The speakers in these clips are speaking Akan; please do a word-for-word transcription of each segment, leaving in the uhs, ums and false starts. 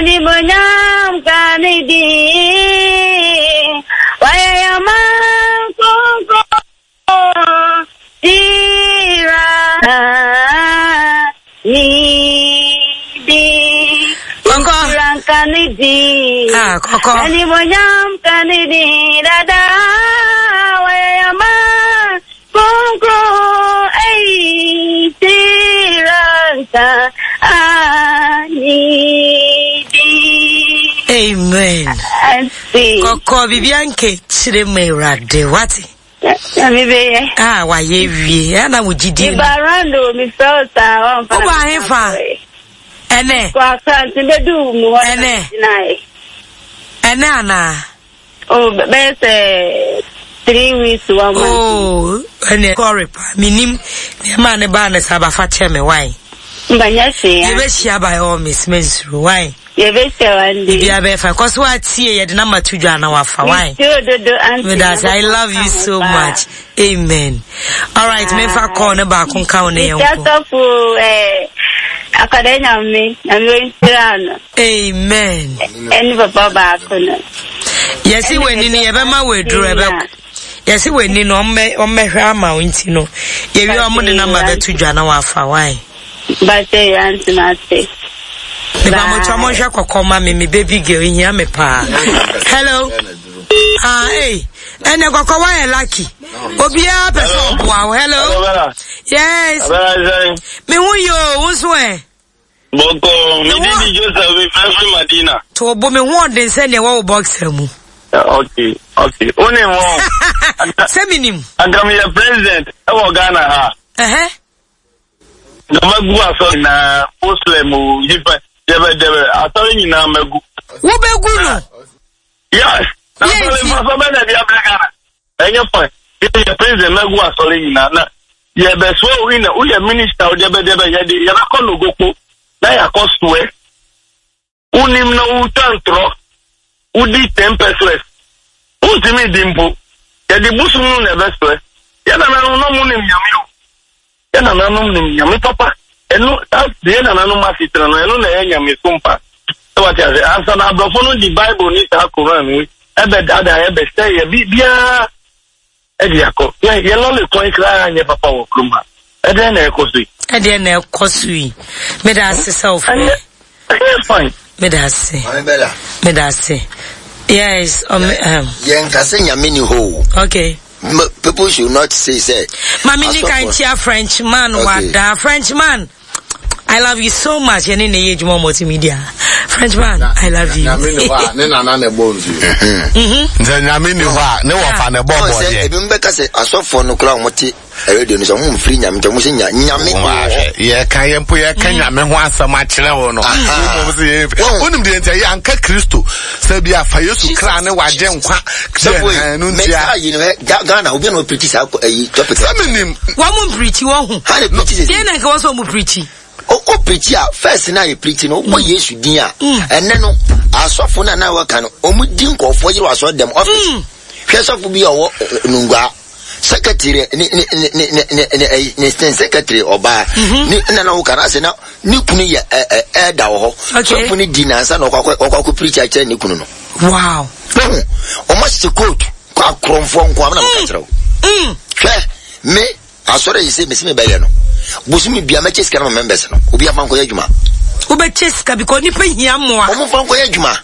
Animuonyam nka ne din. Wayɛ yɛn man kronkron. Hyira ne din. Kɔkɔ. Hyira nka ne din. Ah, kɔkɔ. Animuonyam nka ne din. Dada wayɛ yɛn man kronkron. Ei, hyira nka ne din. Amen. Auntie. Kɔkɔ biribiara nka akyire ma Awurade wate. Nyame bɛyɛ. Ah, wayɛ wie. Ɛna wo gyidie no. Meba round o, mefrɛ wo saa, wamfa na Wobaa hefa? Ɛnɛ. Kɔ Accra nti bɛdu mu hɔ na Ɛnɛ. megyinaeɛ. Ɛnɛ anaa? Oh, bɛyɛ sɛ three weeks one month. Oh, ɛnɛ kɔre pa. Menim nneɛma a ne baa ne saa bafa kyɛ me why. Mbanyɛ hwee. Yɛbɛhyia by all means mensuro why. Yɛbɛhyia one day. Biribiara bɛyɛ fine. Kɔ so atie yɛde nama to dwa na wafa why. Mesuro dodo auntie. Medase, I love you so much. Amen. All right, memfa call ne baako nka wo ne yɛn Mehyia nko. sɔfo eh, akwadaa nyame, nyame ɔnhyira no. Amen. Ɛne papa baako no. Yɛsi w'ani no yɛbɛma w'aduro ɛbɛkɔ. Yɛsi w'ani no ɔmmɛ ɔmmɛhwɛ ama wo nti no. Yɛwie ɔmo de nama bɛto dwa na wafa why. Bakyɛ yɛ auntie mate. Meba mo twa mo nhwɛ kɔkɔ ma me me baby girl ehia me paa. Hello. Ah, hey. Ɛnɛ kɔkɔ wayɛ lucky. Obiara pɛ sɛ ɔboa wo. Hello. Yes. Me ho yɛ o, wo nso ɛ. Bɔkɔ, me din di Joseph, me fɛ firi Madina. To bo me ho ɔden sɛ nea ɛwɔ wo boxer mu. Okay, okay. Wo ne wɔn. Sɛ menim. Anka meyɛ president ɛwɔ Ghana ha. Ɛhɛ. Na magu asɔre nyinaa, Muslim o, yipa, dɛbɛdɛbɛ, asɔre nyinaa magu. Wobɛgu no? Yes. Na asɔre mfaso bɛ na ɛde abrɛ Ghana. Ɛnyɛ fine. Yɛ president magu asɔre nyinaa na yɛbɛsoa wo na woyɛ minister wo dɛbɛdɛbɛ yɛde yɛbɛkɔ Nogokpo na yɛakɔ soɛ. Wonim na wotwa ntorɔ wodi ten pesewas wontumi di mpo yɛde bosom no na ɛbɛsoɛ. Yɛ nananom na ɔmo nim nyame o. Yɛ nananom nim nyame papa. Ɛno saa deɛ nananom asetena no ɛno na ɛyɛ nyame so mpa. Sɛ wate ase ansa na aborɔfo no di Bible ne saa Koran no ɛbɛdaadaa ɛbɛsɛ yɛ biribiara ɛde akɔ. Yɛ yɛ lɔle kwan koraa nyɛ papa wɔ kurom ha. Ɛdɛn na ɛkɔ so yi? Ɛdeɛ na ɛkɔ so yi. Meda ase sɛ wofrɛ. Ɛyɛ fine. Meda ase. Maame Bella. Meda ase. Yes. Um, um. Yɛn kase nyame ni hɔ o. Okay. M- people should not say say. Mami ni kan tia French man Okay. wada. French man. I love you so much. Yɛne ne yɛ adwuma multimedia. French man, I love you. Nyame ni hɔ a ne nana na ɛbɔ nsuo. Sɛ nyame ni hɔ a ne wɔfa ne bɔ Ɔn sɛ bɔdeɛ. ebi mbɛka sɛ asɔfoɔ no koraa a wɔte radio no sɛ wɔn mfiri nyame nti wɔn sɛ nya nyame wɔ hɔ. Yɛka yɛn mpo yɛka nyame ho asɛm akyerɛ wo no. Aha. Womom sɛ yɛmfi. Wɔn- Wonim deɛ nti ɛyɛ anka Kristo sɛ bi afa Yesu kra ne wagye nkwa. Sɔfo yi, Deɛ, ɛno mɛ ntia. saa yi no ɛ Ga- Ghana obi na ɔpirikyi saa kɔ- ɛyi topic. Sɛ menim Wɔn mu mpirikyi wɔn ho. Ha na pirikyi sɛ Deɛ na nka wɔn sɛ wɔn pirikyi. o o pirikyi a first na yɛ pirikyi no wobɔ Yesu din a ɛnɛ no asɔfo no a na wɔka no wɔn di nkɔfoɔ yere wɔ asɔre dɛm office. Hwɛ sɔfo bi a ɔwɔ ɛ, Nungua secretary ne ne ne ne ne ne ne ɛyi, ne ne secretary ɔbaa ne nna na wɔka no asɛ na ne kunu yɛ ɛ ɛ ɛɛda wɔ hɔ. Okay. Sɔfo no di nansa na ɔkɔ akɔ ɔkɔ akɔ pirikyi akyerɛ ne kunu no. Wow. Wɔn wɔn ahyɛ coat kɔ akorɔmfoɔ nko amena meka kyerɛ wo. Mm. Hwɛ me asɔre yi sɛ mesi me bɛyɛ no bosomi bia mɛkyɛ sika no ma members no obi afa nkɔyɛ adwuma. Wobɛkyɛ sika because nipa hia mmoa. Wɔn fa nkɔyɛ adwuma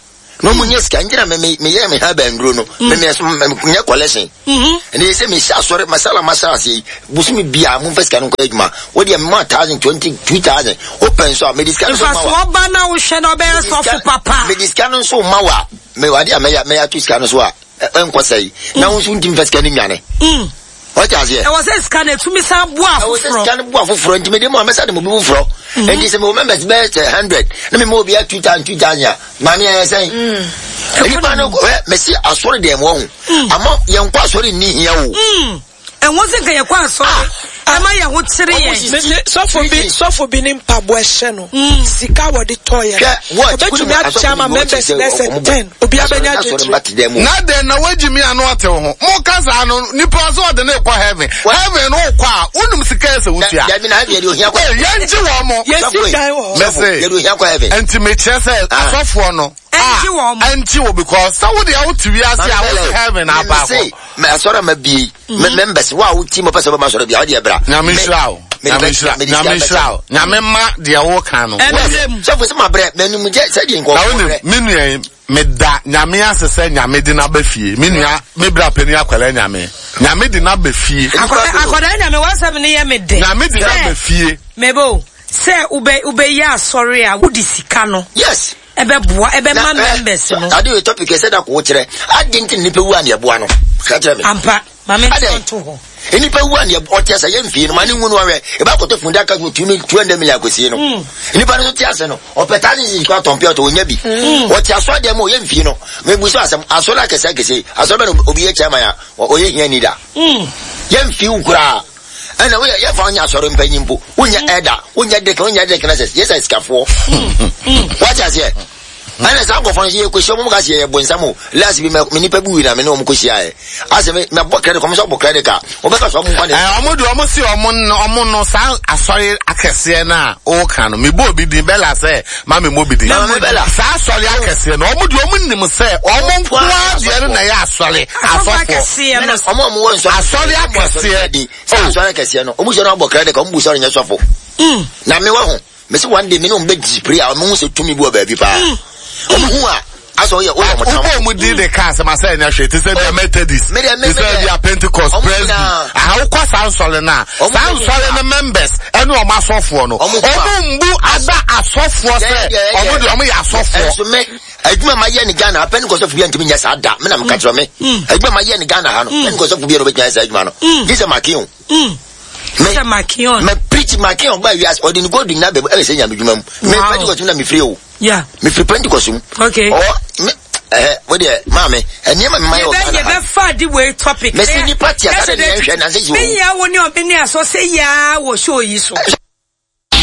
na wɔn nyɛ sika ngyina me me meyɛ me ha bɛnduro no me me me nyɛ collection. Mhm. Ɛnna yɛ sɛ mehyɛ asɔre masala masala ase yi bosomi bia mo nfa sika no nkɔyɛ adwuma wo deɛ mema thousand twenty two thousand wopɛ nso a mede sika no nso ma wa. Mfasoɔ ba na wohwɛ na ɔbɛyɛ sɔfo papa. Mede sika no nso ma wa me wade a mɛyɛ mɛyɛ ato sika no so a ɛ- ɛnkɔ sɛe na wo nso ntimi fa sika no nwane. Mm. Wɔte aseɛ. Ɛwɔ sɛ sika no etumi san boa ɛwɔ sɛ afoforɔ. sika no bu afoforɔ nti mede mu a mɛsa de mo bi foforɔ nti sɛ mewɔ members bɛyɛ sɛ hundred na mema obiara two thousand two thousand a maame ɛyɛ sɛn nipa no ɛ mɛsi asɔre deɛ wɔ ho ama yɛnkɔ asɔre nni hia o Mm. Ɛho sɛ nka yɛkɔ asɔre. Ɛma yɛn ho kyere yɛn. Sɔfo bi sɔfo bi ne mpaboa ɛhyɛ no. Sika wɔde tɔ yɛ. Obetumi akyɛ ama members bɛsɛ ten. Obi abɛnya gyegye. Na den na wagyi mi ano ate ho. Mo kasa no nipa so ɔde ne kɔ heaven. Heaven no kɔ a wonum sika ɛsɛ wotua. Dabi na heaven yɛ de ohia kɔ. Yɛn gye wɔn mo. Yɛsi dan wɔ hɔ. Mɛsɛ yɛ de ohia kɔ heaven. Nti mekyerɛ sɛ asɔfoɔ no. Ɛngye wɔn mo. Ɛngye wɔ because sɛ wo deɛ wote wiase a wote heaven aba hɔ. Mɛ asɔre ma bie members wo a wo ti mo pɛ sɛ wobɛma asɔre bia wode ɛbra. Nyame nhyira wo. Nyame nhyira Nyame nhyira wo. Nyame ma deɛ wo ka no. Sɔfo sɛ mabrɛ m'anim gye sɛdeɛ nkɔfoɔ Na wonim me nua yi meda Nyame ase sɛ Nyame de n'aba fie. Me nua me bra pani akwala Nyame. Nyame de n'aba fie. Akwadaa Nyame wasɛm ne yɛ me de. Nyame de n'aba fie. Mebo sɛ ube ube yɛ asɔre a wodi sika no. Yes. Ebe boa ebe ma members no. Ade we topic sɛ da ko kyerɛ. Ade nti nipa wu an yɛboa no. Ka kyerɛ me. Ampa. Mame nto ho. Nipa wu an yɛ ɔte asa yɛ mfie no ma ne nwu no awɛ. Eba koto funda ka two hundred million akosie no. Nipa no te ase no. Ɔpɛ thousand six kwa tɔn pɛ ɔtɔ onya bi. Ɔte aso de mo yɛ mfie no. Me bu so asɛm aso la kɛse kɛse. Aso bɛ no obi yɛ chairman ya ɔyɛ hia ni da. Yɛ mfie wo kura. Ɛna wo yɛ fa ɔnya asɔre mpanyin po. Wonya ɛda, wonya dek, wonya dek na sɛ yɛ sɛ sikafoɔ. Wate aseɛ? Ɛna saa nkɔfoɔ no sɛ yɛkɔhyia ɔmo ka sɛ yɛyɛ bonsam o. Last bi me nipa bi wui na me ne ɔmo kɔhyia ɛ. Asɛ me mɛbɔ credit kɔm sɛ ɔbɔ credit card. Ɔbɛka sɛ ɔmo nkwa ne. Ɛ ɔmo de ɔmo si ɔmo no ɔmo no saa asɔre akɛseɛ na ɔka no. Me bɔ obi din Bella sɛ ma me mo bi din. Saa asɔre akɛseɛ no ɔmo de ɔmo nim sɛ ɔmo nkoa deɛ no na ɛyɛ asɔre asɔfoɔ. Ɔmo ɔmo wɔ nsɔre. Asɔre akɛseɛ. Saa asɔre akɛseɛ no ɔmo sɛ no abɔ credit card ɔmo bu sɔre nyɛ sɔfo. Na me wɔ ho. Me se one day me no be display a me hu se tumi bu ba bi pa. O hu a aso ye o ye mo tam. Obo mu di de cars ma say nya hwe te se bia Methodist. Te se bia Pentecost Presby. Aha wo kwa san sole na. San sole na members ene o ma asofo no. Omo mbu ada asofo se omo de omo ye asofo. So me adwuma ma ye ni Ghana Pentecost fu bia ntimi nya sa da. Me na me ka kire me. Adwuma ma ye ni Ghana ha no. Pentecost fu bia no be nya sa adwuma no. Gise makin. Me makion. Me preach makion ba wiase odi go di na be e se nya medwuma mu. Me Pentecost na me free o. Yeah. Me free Pentecost mu. Okay. Oh me eh wo de ma me eni ma me ma yo kana. Ye be fa di we topic. Me se ni party asa de hwe na se ji o. Me ya wo ni obi ni aso se ya wo show yi so.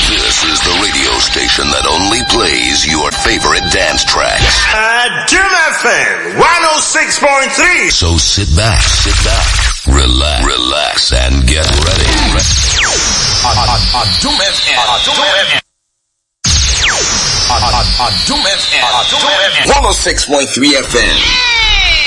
This is the radio station that only plays your favorite dance tracks. Uh, Jim F M one oh six point three. So sit back, sit back, relax, relax, and get ready. Adum F M. Adum F M. Adum F M. one oh six point three F M.